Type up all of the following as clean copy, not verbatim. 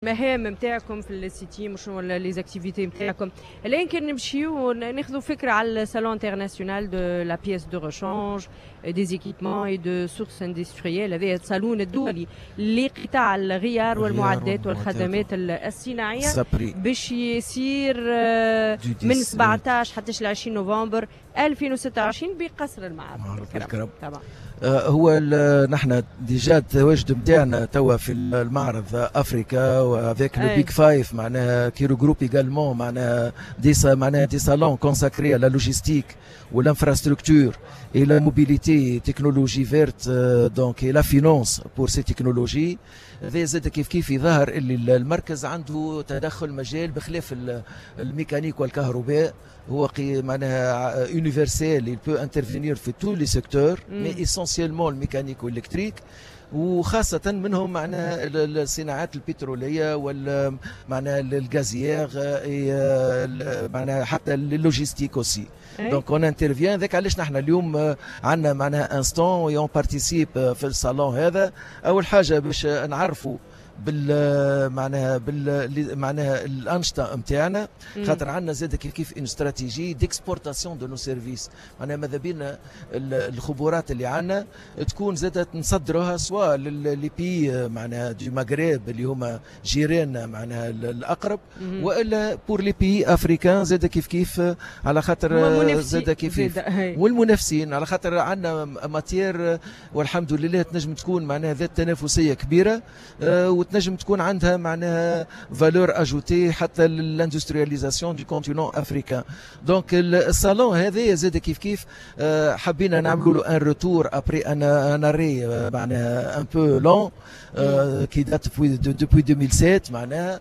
المهام نتاعكم في ال SITIM وشنو les activités نتاعكم. الان كان نمشيو ناخذوا فكرة على ال salon international de la pièce de rechange, des équipements et de sources industrielles. هذا الصالون الدولي لقطاع الغيار والمعدات والخدمات الصناعيه، باش يصير من 17 حتى 20 نوفمبر 2026 بقصر المعارض. الكرم طبعا. هو نحن déjà التواجد نتاعنا توا في المعرض افريكا و avec le Big Five، معناها qui regroupe également معناها des salons consacrés à la logistique و l'infrastructure et la mobilité, technologie verte, donc et la finance pour ces technologies. هذا زاد كيف كيف يظهر اللي المركز عنده تدخل مجال بخلاف الميكانيك والكهرباء، هو معناها universel, il peut intervenir في tous les secteurs, mais essentiellement ال mécanique وال électrique، وخاصة منهم معناها الصناعات البترولية وال معناها ال gazière، معناها حتى ال logistique aussi. donc on intervient. ذاك علاش نحن اليوم عندنا معناها un stand et on participe في الصالون هذا. اول حاجة باش نعرفوا بال معناها الانشطة نتاعنا، خاطر عندنا زاد كيف كيف une stratégie d'exportation de nos services، معناها ماذا بينا الخبرات اللي عندنا تكون زاد نصدروها soit les pays معناها du Maghreb اللي هما جيراننا معناها الاقرب، والا pour les pays africains زاد كيف كيف، على خاطر زاد كيف كيف والمنافسين، على خاطر عندنا matière والحمد لله تنجم تكون معناها ذات تنافسية كبيرة وتنجم تكون عندها معناها valeur ajoutée حتى l'industrialisation du continent africain. donc الصالون هذا زاد كيف كيف حبينا نعملوا له un retour après un arrêt معناها un peu long qui date depuis 2007. معناها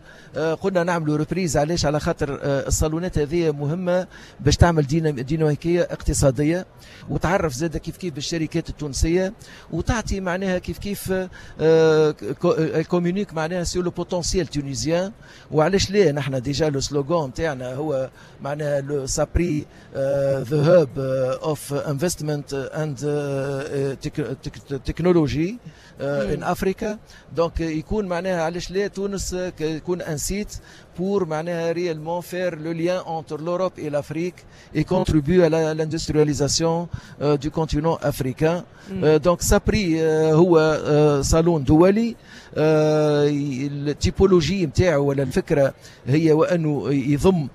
قلنا نعملوا reprise. علاش؟ على خاطر الصالونات هذه مهمة باش تعمل ديناميكية اقتصادية وتعرف زاد كيف كيف بالشركات التونسيه، وتعطي معناها كيف كيف communique معناها sur le potentiel tunisien. وعلاش لا، نحن déjà le slogan نتاعنا هو معناها le SAPRI, the hub of investment and technology in Africa. donc يكون معناها علاش لا تونس يكون un site pour معناها réellement faire le lien entre l'Europe et l'Afrique et contribuer à l'industrialisation du continent africain. Donc SAPRI هو صالون دولي. ال typologie نتاعو ولا الفكرة هي وانه يضم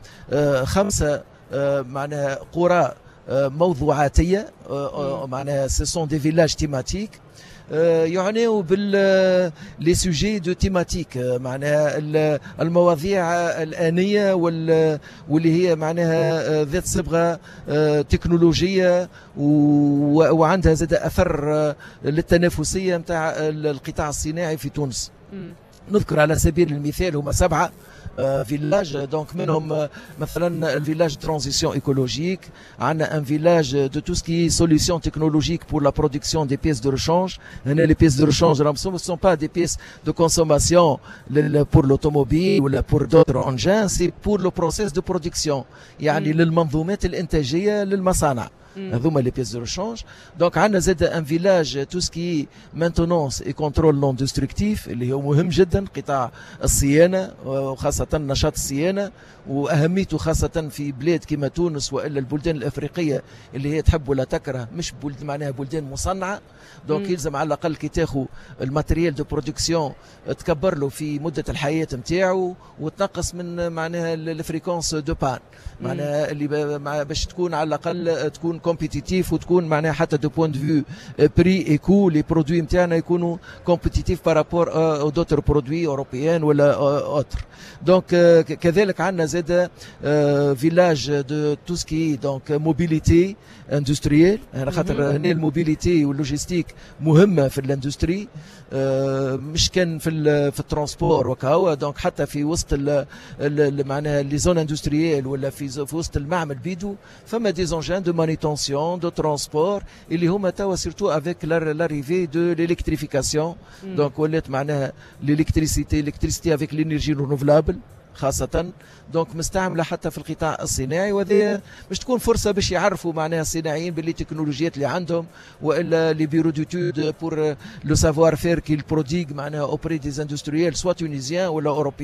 خمسة معناها قرى موضوعاتيه، معناها ce sont des villages thématiques يعنيو بال les sujets de thématique، معناها المواضيع الآنية واللي هي معناها ذات صبغة تكنولوجية وعندها زاد أثر للتنافسية نتاع القطاع الصناعي في تونس. نذكر على سبيل المثال هما سبعة villages، donc منهم مثلا ال village transition écologique، عندنا un village de tout ce qui est solutions technologiques pour la production des pièces de rechange. هنا les pièces de rechange راهم ce sont pas des pièces de consommation pour l'automobile ولا pour d'autres engins, c'est pour le process de production، يعني للمنظومات الانتاجية للمصانع هذوما les pièces de rechange. donc عندنا زاد un village tout ce qui est maintenance et contrôle non destructif، اللي هو مهم جدا، قطاع الصيانة وخاصة نشاط الصيانة واهميته خاصة في بلاد كما تونس والا البلدان الافريقية اللي هي تحب ولا تكره مش بلد معناها بلدان مصنعه. donc يلزم على الاقل كي تاخذ ال matériel de production تكبر له في مده الحياة نتاعو وتنقص من معناها ال fréquence de panne، معناها اللي باش تكون على الاقل تكون compétitif وتكون معناها حتى du point de vue prix et coût, les produits نتاعنا يكونوا compétitifs par rapport aux d'autres produits européens ولا autres. donc كذلك عندنا زاد village de tout ce qui est donc mobilité industrielle، على خاطر هنا ال mobilité وال logistique مهمة في l'industrie، مش كان في ال transport وكهو. donc حتى في وسط معناها les zones industrielles ولا في وسط المعمل بيدو فما des engins de manutention, de transport اللي هما توا surtout avec l'arrivée de l'électrification, donc ولات معناها l'électricité avec l'énergie renouvelable. خاصة donc مستعملة حتى في القطاع الصناعي، وهذه باش تكون فرصة باش يعرفوا معناها الصناعيين باللي تكنولوجيات اللي عندهم والا les bureaux d'études pour le savoir-faire qu'ils prodiguent معناها auprès des industriels, soit tunisiens ولا européens.